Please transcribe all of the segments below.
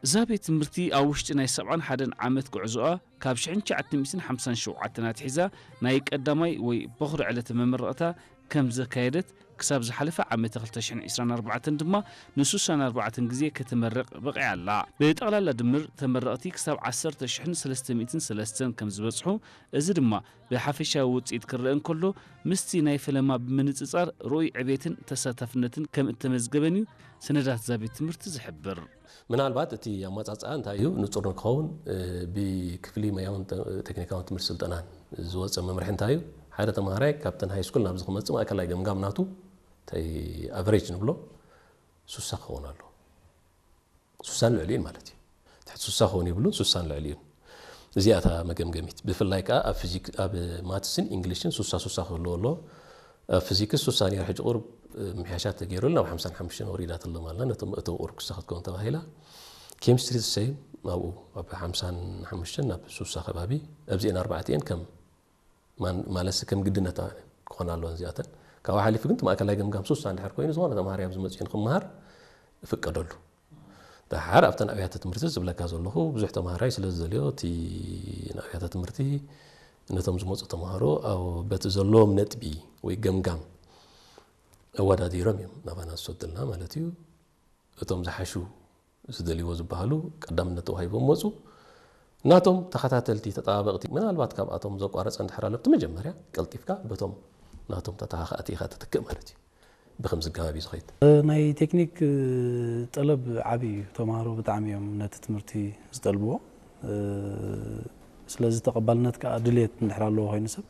እዛ ቤት ትምህርቲ ኣብ ውሽጢ ናይ ሰብዓን ሓደን ዓመት ጉዕዞኣ፣ ካብ ሽሕን ትሽዓተ ሚእትን ሓምሳን ሸውዓተን ኣትሒዛ ናይ ቀዳማይ ወይ በኹሪ ዕለተ መመረቕታ ከም ዘካየደት፣ ክሳብ ዝሓለፈ ዓመተ ክልተ ሽሕን ዕስራን ኣርባዕተን ድማ ንሱሳን ኣርባዕተን ግዜ ከተመርቕ በቒዓ ኣላ። ብጠቕላላ ድምር ተመረቕቲ ክሳብ ዓሰርተ ሽሕን ሰለስተ ሚእትን ሰለስተን ከም ዝበጽሑ፣ እዚ ድማ ብሓፈሻዊ ውጽኢት ክረአ እንከሎ፣ ምስቲ ናይ ፈለማ ብምንጽጻር ርኡይ ዕቤትን ተሳታፍነትን ከም እተመዝገበን እዩ ሰነዳት እዛ ቤት ትምህርቲ ዝሕብር። ምናልባት እቲ ኣመጻጽኣ እንታይ እዩ ንጹር ንክኸውን፣ እ፣ ብክፍሊ ሞያውን ተ-፣ ቴክኒካውን ትምህርቲ ስልጠናን ዝወጸ መምርሒ እንታይ እዩ? ሓደ ተማሃራይ ካብተን ሃይ ስኩል ናብዚ ክመጽእ ማእከላይ ገምጋም ናቱ እንታይ ኣቨሬጅ ንብሎ ሱሳ ክኸውን ኣለዎ። ሱሳን ልዕሊኡን ማለት እዩ። ትሕቲ ሱሳ ክኸውን ይብሉን ሱሳን ልዕሊኡን። እዚኣ እታ መገምገሚት። ብፍላይ ከኣ ኣብ ፊዚክ-፣ ኣብ ማትስን ኢንግሊሽን ሱሳ ሱሳ ክህልዎ ኣለዎ። ኣብ ፊዚክስ ሱሳ ነይሩ፣ ሕጂ ቁሩብ፣ እ፣ ምሕያሻት ተገይሩሉ ናብ ሓምሳን ሓሙሽተን ወሪዳትሎም ኣላ። ነቶም መእተዊ ቁሩብ ክሳ ክትከውን ተባሂላ። ኬሚስትሪ ተሰይም ኣብኡ ኣብ ሓምሳን ሓሙሽተን ናብ ሱሳ ከባቢ። ኣብዚኤን ኣርባዕቲኤን ከም ማን-፣ ማለትሲ ከም ግድነት ክኾና ኣለወን እዚኣተን። ካብኡ ሓሊፉ ግን እቲ ማእከላይ ገምጋም ሱሳ እንድሕር ኮይኑ፣ ዝኾነ ተምሃራይ ኣብዚ መጺኡ ንክመሃር ይፍቀደሉ። ደሓር ኣብተን ኣብያተ ትምህርቲ ዝብለካ ዘለኹ፣ ብዙሕ ተምሃራይ ስለ ዝደልዮ፣ እቲ ንኣብያተ ትምህርቲ ነቶም ዝመጹ ተምሃሮ ኣብ በቲ ዘለዎም ነጥቢ ወይ ገምጋም ኣወዳዲሮም እዮም ናባና ዝሰዱልና ማለት እዩ። እቶም ዝሓሹ ዝደልይዎ ዝበሃሉ ቀዳምነት ተዋሂቦም መጹ። ናቶም ተኸታተልቲ፣ ተጠባበቕቲ፣ ምናልባት ካብኣቶም ዘቋረጸ እንድሕር ኣሎ፣ እቲ መጀመርያ ቀልጢፍካ በቶም ናቶም ተተኻኻእቲ ኢኻ ትትክእ ማለት እዩ። ብኸምዚ ኣገባብ እዩ ዝኸይድ። ናይ ቴክኒክ፣ እ፣ ጠለብ ዓቢ እዩ። ተምሃሮ ብጣዕሚ እዮም ነቲ ትምህርቲ ዝጠልብዎ። እ፣ ስለዚ ተቐባልነት ከኣ ድሌት እንድሕር ኣለዎ ኮይኑ ሰብ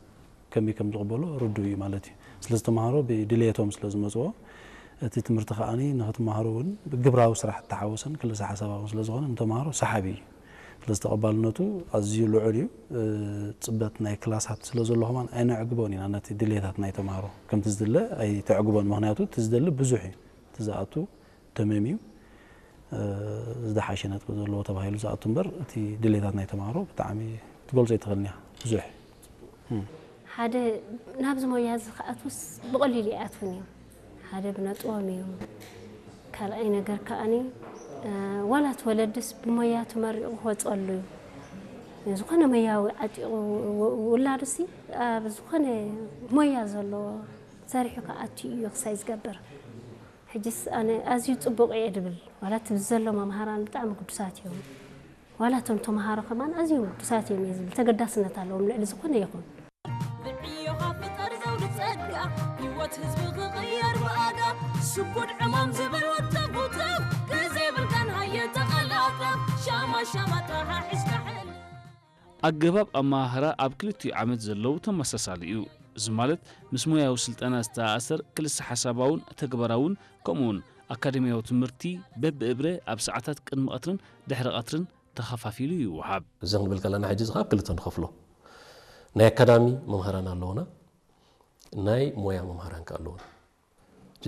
ከመይ ከም ዝቕበሎ ርዱእ እዩ ማለት እዩ። ስለዚ ተምሃሮ ብድሌቶም ስለ ዝመጽዎ፣ እቲ ትምህርቲ ከኣኒ ንኽትመሃሮ እውን ብግብራዊ ስራሕ እተሓወሰን ክልሰ ሓሳባዊ ስለ ዝኾነ ንተምሃሮ ሰሓቢ እዩ። ስለዚ ተቐባልነቱ ኣዝዩ ልዑል እዩ። እ፣ ጽበት ናይ ክላሳት ስለ ዘሎ ከማን ኣይነዕግቦን ኢና ነቲ ድሌታት ናይ ተምሃሮ። ከምቲ ዝድለ ኣይተዕግቦን። ምኽንያቱ እቲ ዝደሊ ብዙሕ እዩ። እቲ ዝኣቱ ተመም እዩ። እ፣ ዝደሓሸ ነጥቢ ዘለዎ ተባሂሉ ዝኣቱ እምበር፣ እቲ ድሌታት ናይ ተምሃሮ ብጣዕሚ ክትገልጾ ኣይትኽእልን ኢኻ። ብዙሕ። እም። ሓደ ናብዚ ሞያ እዚ ክኣትውስ ብቐሊሉ ኣይኣትውን እዮም። ሓደ ብነጥቦም እዮም። ካልኣይ ነገር ከኣኒ፣ እ፣ ዋላ እቲ ወለድስ ብሞያ ተመሪቑ ክወጸሉ እዩ። ዝኾነ ሞያዊ ዓጢቑ ው-፣ ውላዱሲ ኣብ ዝኾነ ሞያ ዘለዎ ሰሪሑ ክኣቱ እዩ ክሳይ ዝገብር። ሕጅስ ኣነ ኣዝዩ ጽቡቕ እየ ድብል። ዋላ እቲ ዘሎ መምሃራን ብጣዕሚ ግዱሳት እዮም። ዋላ እቶም ተምሃሮ ከማን ኣዝዮም ግዱሳት እዮም እየ ዝብል። ተገዳስነት ኣለዎም ልዕሊ ዝኾነ ይኹን። ብዕዮኻ ፍጠር ዘውዲ ጸጋ፣ ህይወት ህዝቢ ክቕየር ብኣጋ። ስጉድ ዕማም ዝብል ወተፍ ውተፍ፣ ግዜ የብልካን ሃየ ተቐላጠፍ። ሻማ ሻማ ጥራሓ ሒዝካ ሕል። ኣገባብ ኣመሃህራ ኣብ ክልቲኡ ዓመት ዘለዉ ተመሳሳሊ እዩ። እዚ ማለት ምስ ሞያዊ ስልጠና ዝተኣሳሰር ክልሰ ሓሳባውን ተግባራውን ከምኡውን ኣካደምያዊ ትምህርቲ በብእብረ ኣብ ሰዓታት ቅድሚ ቀትርን ድሕሪ ቀትርን ተኸፋፊሉ ይወሃብ። እዚ ክንብል ከለና ሕጂ እዚ ካብ ክልተ ንኸፍሎ። ናይ ኣካዳሚ መምህራን ኣለዉና፣ ናይ ሞያ መምህራን ከ ኣለዉና።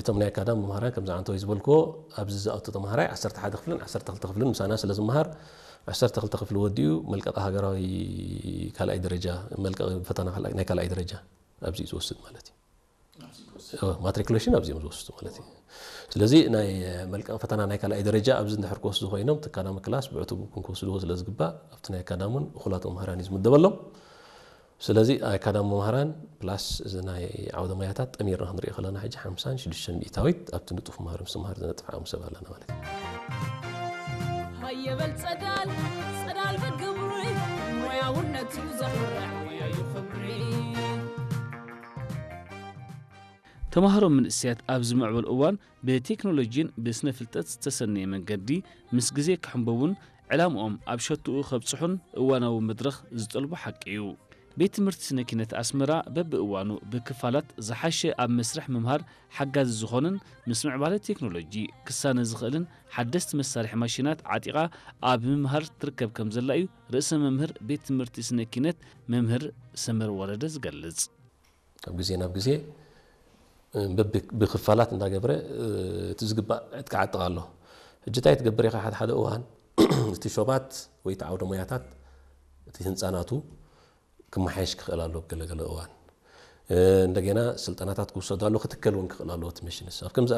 እቶም ናይ ኣካዳሚ መምህራን ከምዚ ዓንተወይ ዝበልክዎ ኣብዚ ዝኣቱ ተምሃራይ ዓሰርተ ሓደ ክፍልን ዓሰርተ ክልተ ክፍልን ምሳና ስለ ዝመሃር ዓሰርተ ክልተ ክፍሊ ወዲኡ መልቀቂ ሃገራዊ ካልኣይ ደረጃ፣ መልቀቂ ፈተና ካልኣይ፣ ናይ ካልኣይ ደረጃ ኣብዚ እዩ ዝወስድ ማለት እዩ። ኦ፣ ማትሪኩሌሽን ኣብዚ እዮም ዝወስዱ ማለት እዩ። ስለዚ ናይ መልቀቂ ፈተና ናይ ካልኣይ ደረጃ ኣብዚ እንድሕር ክወስዱ ኮይኖም፣ እቲ ኣካዳሚ ክላስ ብዕቱብ እውን ክወስድዎ ስለ ዝግባእ፣ ኣብቲ ናይ ኣካዳሚ እውን እኹላት መምህራን እዩ ዝምደበሎም። ስለዚ ኣካዳሚ መምህራን ፕላስ እዚ ናይ ዓውደ ሞያታት ጠሚርና ክንሪኦ ከለና፣ ሕጂ ሓምሳን ሽዱሽተን ሚእታዊት ኣብቲ ንጡፍ መሃሪ ምስትምሃር ዝነጥፍ ዓቕሚ ሰብ ኣለና ማለት እዩ። ሃየ በል ጸዳል፣ ጸዳል በል ግብሪ፣ ሞያውነት እዩ ዘኹርዕ፣ ሞያ እዩ ክብሪ። ተምሃሮ መንእሰያት ኣብ ዝምዕበሉ እዋን ብቴክኖሎጂን ብስነ ፍልጠት ዝተሰነየ መንገዲ ምስ ግዜ ክሕንበቡን ዕላምኦም ኣብ ሸትኡ ከብጽሑን እዋናዊ መድረኽ ዝጠልቦ ሓቂ እዩ። ቤት ትምህርቲ ስነ ኪነት ኣስመራ በብእዋኑ ብክፋላት ዝሓሸ ኣብ መስርሕ ምምሃር ሓጋዚ ዝኾንን ምስ ምዕባለ ቴክኖሎጂ ክሳነ ዝኽእልን ሓደስቲ መሳርሒ ማሽናት ዓጢቓ ኣብ ምምሃር ትርከብ ከም ዘላ እዩ ርእሰ መምህር ቤት ትምህርቲ ስነ ኪነት መምህር ሰመር ወረደ ዝገልጽ። ካብ ግዜ ናብ ግዜ፣ እ፣ በቢ-፣ ብክፋላት እንዳገብረ፣ እ፣ እቲ ዝግባእ ዕጥቂ ዓጥቕ ኣሎ። ሕጂ እንታይ ትገብር ኢኻ? ሓደ ሓደ እዋን እቲ ሾባት ወይ እቲ ዓውደ ሞያታት፣ እቲ ህንጻ ናቱ ክመሓየሽ ክኽእል ኣሎ ገለ ገለ እዋን። እ፣ እንደገና ስልጠናታት ክውሰዱ ኣሎ፣ ክትከል እውን ክኽእል ኣለዎ እቲ መሽንስ። ኣብ ከምዚ